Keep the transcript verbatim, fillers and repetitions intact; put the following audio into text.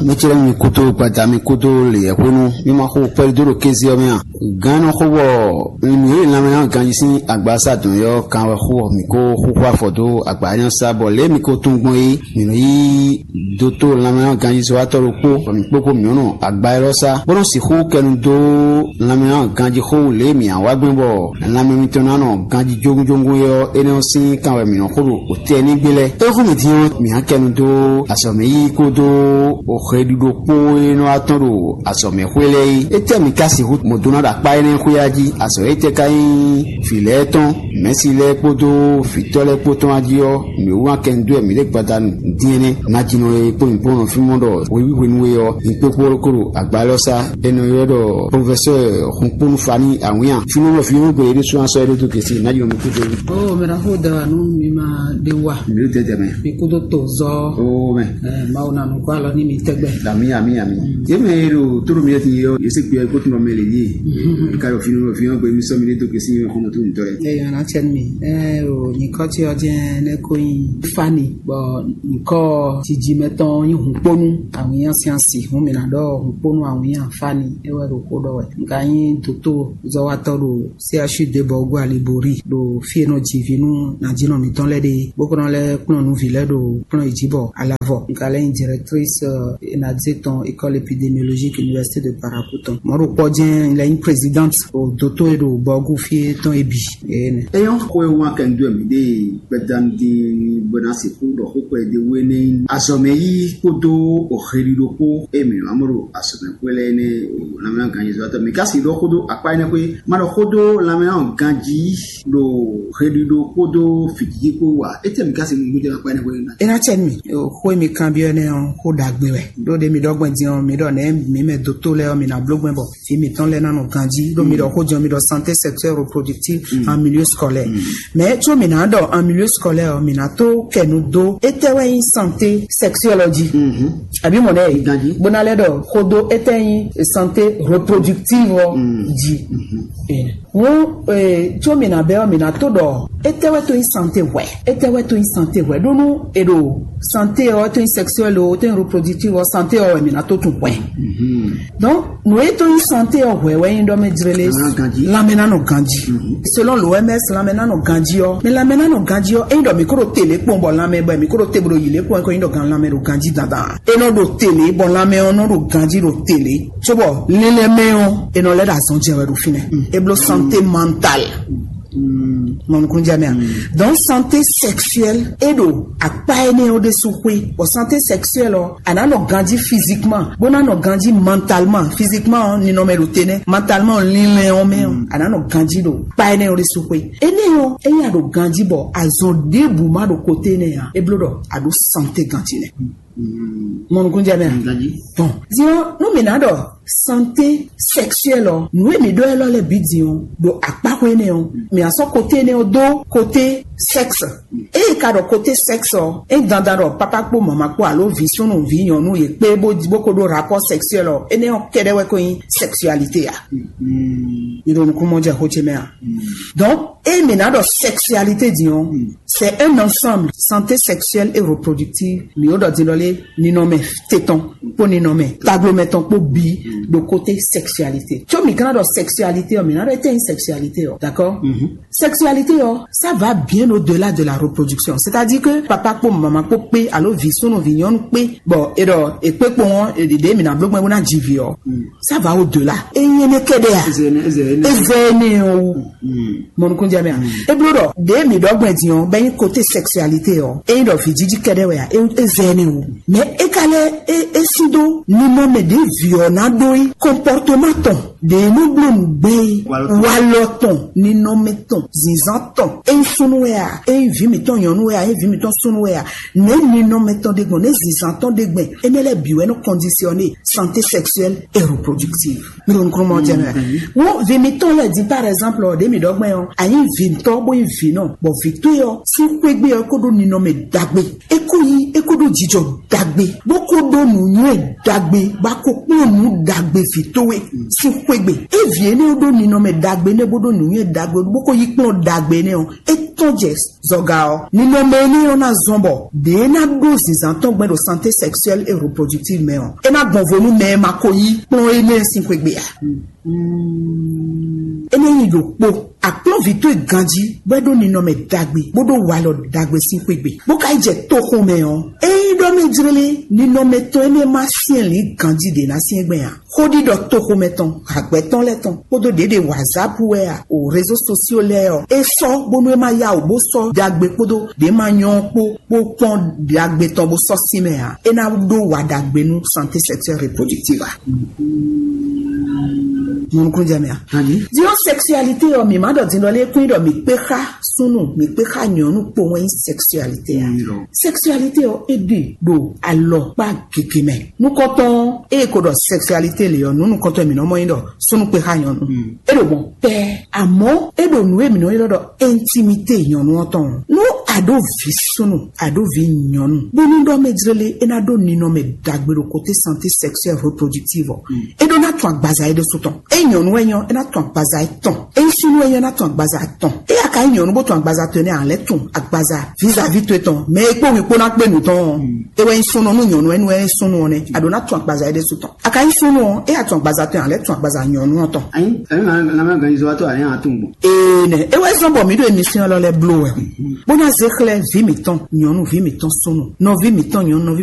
Mɛ ce lɛ́ɛ mi kúdó gbada mi kúdó leyɛ̌xwénu, mi ma xo kpɛɖé dó ɖo kéze ɔ́ mɛ a? Gǎn nɔ xo bɔ mi e lanmɛ ná ganjí sín agbasa dɔn ɔ́ kan wɛ xo mǐ ko xúxú afɔ dó agba énɛ́ sá, bɔ lě e mi ko tunwun gbɔn é, mǐ nɔ yí dótó lanmɛ ná ganjí sɔ́watɔ́ ɖokpó, bɔ mǐ kpókpó mǐ nɔ agba élɔ́ sá, bó nɔ sixú kɛnu dó lanmɛ ná ganjí xó wú lě e mǐ á wa gbɛn bɔ lanmɛ mitɔn ná nɔ ganjí jógúnjógún é ɔ́, énɛ́ ɔ́ sín kan wɛ mǐ nɔ xo ɖo tɛnígbe lɛ́ɛ. É hú mì din ɔ́, mǐ á kɛnu dó azɔ̌mɛ yíyí kpódó oxeɖiɖo kpó e nɔ wá tɔn ɖo azɔ̌mɛ xwé lɛ́ɛ é. Étɛ́ mǐ ka sixú mɔ dó ná ɖo akpá énɛ́ xwé ɔ́ jí? Azɔ̌ étɛ́ ka nyí vǐ lɛ́ɛ tɔn, mɛ̌si lɛ́ɛ kpódó vǐtɔ́ lɛ́ɛ kpó tɔn wá jí ɔ́, mǐ wú wá kɛnu dó wɛ mǐ ɖe gbada din ɛnɛ. Nǎjínɔ e kpó nyǐkplɔ́nɔ fínmɔ ɖɔ hweví hwenu e ɔ́, nyǐkpékpó ko ɖo agba élɔ́ sá. Énɛ́ ɔ́ ylɔ́ ɖɔ profɛsɛ́ɛ Hunkpónú Fani Awǐnnya. Fínmɔ fínmɔ gbe é ɖésú asɔ é ɖó dó gěsé, nǎjínɔ mi kú dó. Ó, mɛ ɖaxó da wà nú mi ma ɖe wa. Mi ɖo dɛdɛ mɛ. Mi kúdó to zɔ. Ó mɛ. Ɛ, Mawu na nukɔ alɔ ní mi tɛgbɛ. Ami, ami, ami. Yé mɛ e ɖo tóɖo mi ti yɔ, yé se kpe ko tun mɛ le yé. Ka yɔ fínmɔ fínmɔ gbe mi sɔ mi ɖe dó gěsé mi xɔmɔ tó ntɔ yɛ. Ɛ, yana tsɛ mi. Ɛ, o nyikɔ ti ɔ jɛ ne ko yin Fani. Bɔ nyikɔ jiji mɛ tɔn yin Hunkpónú Awǐnnya sín asi. Hun mi na ɖɔ Hunkpónú Awǐnnya Fani. E wɛ ɖo xó ɖɔ wɛ. Nka yin doto zɔwatɔ ɖo C H U de bɔ go alibori ɖo fie nɔ jivi nú najínɔ mitɔn lɛ ɖe bó kɔnɔ lɛ kplɔn nu vi lɛ ɖo kplɔn yi jí bɔ alavɔ. Nka lɛ yin directrice enaze tɔn école épidémiologique université de Parakou tɔn. Mɔ ɖo kpɔ jɛn lɛ yin présidente o doto e ɖo bɔgu fie tɔn e bi. Ene. Eyɔn xwe wa kɛndú mi ɖe gbɛdandi bɔna se kó ɖɔ xó kpɛ de wé ne azɔmɛ yi kpódó o xeli ɖokpó e mi amɔ ɖo azɔmɛ kpó lɛ ne o lamɛ ganyi zɔ tɔ mi kasi ɖɔ xó do akpa ne kpé ma ɖɔ xó do lamɛ ganji ɖo xeli ɖokpó do fitidi kpó wa etɛ mi kasi nu gbɛdɛ akpa ne kpé na. Ena cɛ mi o xó mi kan biɔ ne o xó dagbe wɛ ɖo de mi ɖɔ gbɛn diɔ mi ɖɔ ne mi mɛ doto lɛ o mi na blo gbɛn bɔ fi mitɔn lɛ na nɔ ganji ɖo mi ɖɔ xó jɔ mi ɖɔ santé sexuelle reproductive en milieu scolaire. Mais tso mi na ɖɔ en milieu scolaire mi na to kɛnu do etɛ wɛ yin santé sexuelle ɔ ji. Abi mɔ ne yi bona lɛ ɖɔ xó do etɛ yin santé reproductive ɔ ji. Ŋu tso mi na bɛ ɔ mi na to ɖɔ etɛ wɛ to yin santé hwɛ etɛ wɛ to yin santé hwɛ ɖo nu e ɖo santé ɔ to yin sexuelle o to yin reproductive ɔ santé ɔ wɛ mi na to tun hwɛ. Donc nǔ e tó nyí santé ɔ́ hwɛ wɛ nyí ɖɔ mɛ jlélé lanmɛ ná nɔ ganji. Selon l'O M S lanmɛ ná nɔ ganji ɔ́, mɛ lanmɛ ná nɔ ganji ɔ́, é nyí ɖɔ mǐ kó ɖo télé kpɔn bɔ lanmɛ bɔ mǐ kó ɖo te bó ɖo yǐlé kpɔn é kó nyí ɖɔ gan lanmɛ ɖo ganji dandan. É nɔ ɖo télé bɔ lanmɛ ɔ́ nɔ ɖo ganji ɖo télé, cóbɔ lílɛ́mɛ ɔ́ è nɔ lɛ́ ɖo azɔn jɛ wɛ ɖo fínɛ́. É bló santé mentale. Mɔnukúnjɛ mɛ a. Donc santé sexuelle é ɖo akpa énɛ́ ɔ́ ɖésú xwé. Bɔ santé sexuelle ɔ́ a nǎ nɔ ganjí physiquement bó ná nɔ ganjí mentalement. Physiquement ɔ́ ninɔmɛ ɖo te nɛ́, mentalement ɔ́ linlɛn ɔ́ mɛ ɔ́ a nǎ nɔ ganjí ɖo kpa énɛ́ ɔ́ ɖésú xwé. Énɛ́ ɔ́ ényí a ɖo ganjí bɔ azɔn ɖěbǔ má ɖo koté énɛ́ ǎ, é bló ɖɔ a ɖǒ santé ganjí nɛ́. Mɔnukúnjɛ mɛ a. Bon, diɔ nú mi ná ɖɔ santé sexuelle ɔ nǔ e mi ɖɔ élɔ́ lɛ́ bǐ din ɔ́ ɖo akpáxwé énɛ́ ɔ́, mi ná sɔ́ koté énɛ́ ɔ́ dó koté sexe. Eye ka ɖɔ koté sexe ɔ́, é dandan ɖɔ papa kpó mama kpó alo vǐ súnnu vǐ nyɔ̌nu yě kpé bó bó ko ɖó rapport sexuel ɔ, énɛ́ ɔ́ kɛ́ɖɛ́ wɛ ko nyí sexualité a? Mi ɖo nukúnmɔjɛxó ce mɛ a? Donc eye mi ná ɖɔ sexualité din ɔ́, c'est un ensemble santé sexuelle et reproductive. Mi ó ɖɔ din ɖɔ lé ninɔmɛ te tɔn kpó ninɔmɛ taglomɛ tɔn kpó bi ɖo côté sexualité. Tso mi kana ɖɔ sexualité ɔ, mi na ɖɔ ete yin sexualité ɔ, d'accord? Sexualité ɔ, ça va bien au-delà de la reproduction. C'est-à-dire que papa kpó mama kpó kpé alo vi súnnu vi nyɔnu kpé, bon, e ɖɔ e kpé kpó ɔn, e ɖe mi na bló gbɛn bó na dzi vi ɔ, ça va au-delà. E nyɛ ne kɛɖɛ a? Ezɛ ne, ezɛ ne. Ezɛ ne o. Mɔnukúnjɛ mɛ a? E bló ɖɔ ɖe mi ɖɔ gbɛn din ɔ, bɛ nyi côté sexualité ɔ, e nyi ɖɔ vi jiji kɛɖɛ wɛ a? E, ezɛ ne o. Mais e ka lɛ e, e si do ni mɔ mɛ ɖe vi ɔ na ɖo yi comportement tɔn. Ɖe nɔ bló nu gbé yi, walɔ tɔn, ninɔmɛ tɔn, zinzan tɔn, e nyi súnnu wɛ a, e nyi vi mitɔn nyɔnu wɛ a, e nyi vi mitɔn súnnu wɛ a, ne ninɔmɛ tɔn ɖe gbɔn, ne zinzan tɔn ɖe gbɛn, enɛ lɛ bi wɛ nɔ conditionner santé sexuelle et reproductive. Mi ɖo nukɔn mɔ jɛ mɛ. Wo vi mitɔn lɛ di par exemple ɔ, ɖe mi ɖɔ gbɛn ɔ, a nyi vi ntɔ bo nyi vi nɔ, bɔ vi to yɔ si xwegbe ɔ ko ɖo ninɔmɛ dagbe, e ko yi e ko ɖo jijɔ dagbe, bó ko ɖo nǔnywɛ́ dagbe, bá ko kplɔ́n nǔ dagbe vǐ towe sín xwé Egbe, e vǐ énɛ́ ɖó ninɔmɛ ɖagbe nɛ́ bó ɖó nǔnywɛ́ ɖagbe bó ko yí kplɔ́n ɖagbe nɛ́ ɔ́, é tɔ́n jɛ zɔga ɔ́. Ninɔmɛ énɛ́ ɔ́ ná zɔ́n bɔ ɖě ná ɖó zǐnzán tɔn gbɛn ɖo santé sexuelle et reproductive mɛ ɔ́, é ná gbɔn vo nú mɛ e ma ko yí kplɔ́n énɛ́ sín xwé gbe ǎ. Énɛ́ nyí ɖokpó. Akplɔ́nvǐ towe ganjí bɔ é ɖó ninɔmɛ ɖagbe bó ɖó walɔ ɖagbe sín xwé gbe, bó ka yi jɛ toxo mɛ ɔ́, ényí ɖɔ mɛ jlélé ninɔmɛ tɔn énɛ́ ma syɛ́nlǐn ganjí ɖě ná syɛ́n gbɛn ǎ. Xóɖiɖɔ toxomɛ tɔn, agbɛ̌ tɔn lɛ́ɛ tɔn kpódó ɖěɖe WhatsApp wɛ a, o réseaux sociaux lɛ́ɛ ɔ́, é sɔ́ bónú é má yá wǔ bó sɔ́ ɖagbe kpódó ɖě ma nyɔ́ ɔ́ kpó bó kpɔ́n ɖagbe tɔn bó sɔ́ sí mɛ ǎ. É ná ɖó wa ɖagbe nú santé sexuelle reproductive a? Mɔnukúnjɛ mɛ a? Din ɔ́, sexualité ɔ́, mǐ má ɖɔ din ɖɔ lé kún ɖɔ mǐ kpé xá súnnu, mǐ kpé xá nyɔ̌nu kpowun wɛ nyí sexualité a? Sexualité ɔ́, é ɖe ɖo alɔkpa gěgé mɛ. Nukɔntɔn ɔ́, ée ko ɖɔ sexualité lě ɔ́, nǔ nukɔntɔn e mǐ nɔ mɔ nyí ɖɔ súnnu kpé xá nyɔ̌nu. É ɖo mɔ pɛ́, àmọ́ é ɖo nǔ e mǐ nɔ ylɔ́ ɖɔ intimité nyɔ̌nu ɔ́ tɔn. Nú a ɖó vǐ súnnu, a ɖó vǐ nyɔ̌nu, bónú ɖɔ mɛ jlélé é ná ɖó ninɔmɛ ɖagbe ɖo côté santé sexuelle reproductive ɔ́, é ɖó ná tun agbaza é ɖésú tɔn. É nyɔ̌nu wɛ nyɔ́, é ná tun agbaza é tɔn. É súnnu wɛ nyɔ́, é ná tun agbaza tɔn. É aka nyí nyɔ̌nu bó tun agbaza tɔn énɛ́, a lɛ́ tun agbaza vis-à-vis towe tɔn. Mɛ e kpó wí kpó ná kpé nǔ tɔn ɔ́, é wɛ nyí súnnu nú nyɔ̌nu wɛ nú é súnnu ɔ́ nɛ́. A ɖǒ ná tun agbaza é ɖésú tɔn. A ka nyí súnnu ɔ́, é a tun agbaza tɔn, a lɛ́ tun agbaza nyɔ̌nu ɔ́ tɔn. Anyi, ɛmɛ ma lamɛ ganyizo wa to a yɛn a tun gbɔn. Ee nɛ, é wɛ zɔ́n bɔ mǐ ɖo émission lɔ lɛ́ɛ bló wɛ. Bó ná zé xlɛ́ vǐ mǐtɔn nyɔ̌nu, vǐ mǐtɔn súnnu, nɔví mǐtɔn nyɔ̌nu, nɔví